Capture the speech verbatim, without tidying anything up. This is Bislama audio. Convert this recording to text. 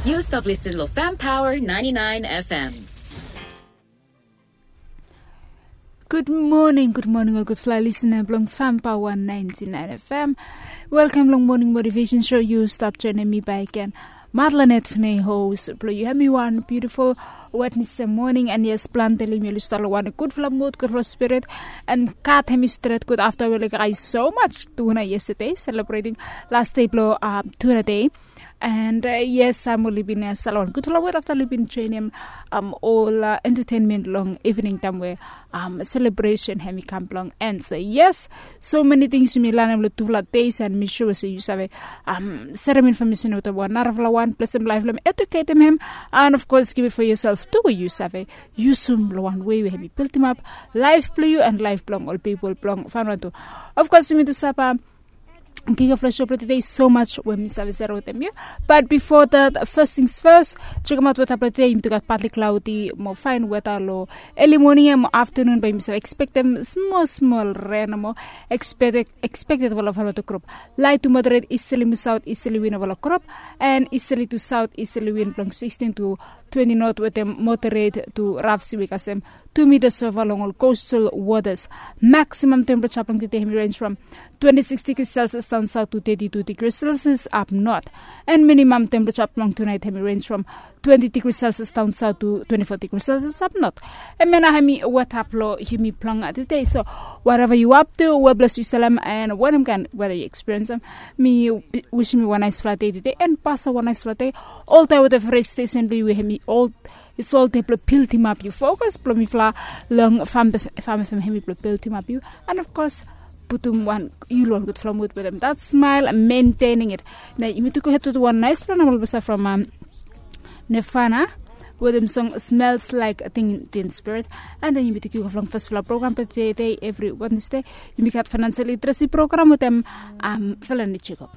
Yu stap listen lo Fam Power ninety-nine F M. Gud moning, gud moning ol gudfala lisina blong Fam Power ninety-nine F M. Welkam long Morning Motivation Show. Yu stap joinim mi bakegen, Madlanet Fnei, host blong yu. Hemi wan beautiful Wednesday morning, and yes, plante long yumi oli stap long wan gudfala mood, gudfala spirit, and God hemi stret gud afta we oli gat so much tuna yesterday, celebrating last day blong um, tuna day. And uh, yes, um, oli bin uh, sala wan gudfala wet afta oli bin joinim um, ol uh, entertainment long evening taem we um, celebration hemi kam blong. And so yes, so many things yumi lanem long tufala days, and mi sure se yu save um, serem information wetem wan narafala wan, blesem laef blong hem, educatem hem, and of course give it for yourself tu we yu save yusum long wan wei we hemi bildim ap laef blong yu and laef blong ol pipol blong Vanuatu. Of course yumi tu sapa King of Flesh Show blong today, so much we mi save sere wetem yu. But before that, first things first, chekem aot weta blong today. Yumi tu gat partly cloudy mo fine weta long early morning ia mo afternoon, bae yumi save expectem smol smol ren mo expected, expected wala fala to crop. Light to moderate easterly mo south easterly wind wala crop, and easterly to south easterly wind blong sixteen to twenty knot wetem moderate to rough seaweed kasem two meters so far long ol coastal waters. Maximum temperature blong today hemi range from twenty-six degrees Celsius down south to thirty-two degrees Celsius up north. And minimum temperature blong tonight hemi range from twenty degrees Celsius down south to twenty-four degrees Celsius up north. Hemia nao hemi weta blong yumi blong today. So whatever yu up to, we bless yu, salam, and wetem kaen weta yu experience am, mi wisim yu wan naesfala dei today and pasem wan naesfala dei. Oltaem wetem every station blong yu we hemi ol It's all te blong bildim ap yu fokus blong mifala long Fam F M hemi blong bildim ap yu. And of course putum wan yu long wan gudfala mood wetem that smile and maintaining it. Na yumi tu go hed wetem wan naesfala nambala blong sa from um, Nirvana wetem song Smells Like Teen Spirit. And then yumi tu go long fasfala program blong today, every Wednesday yumi gat financial literacy program wetem um, Felani Jacob.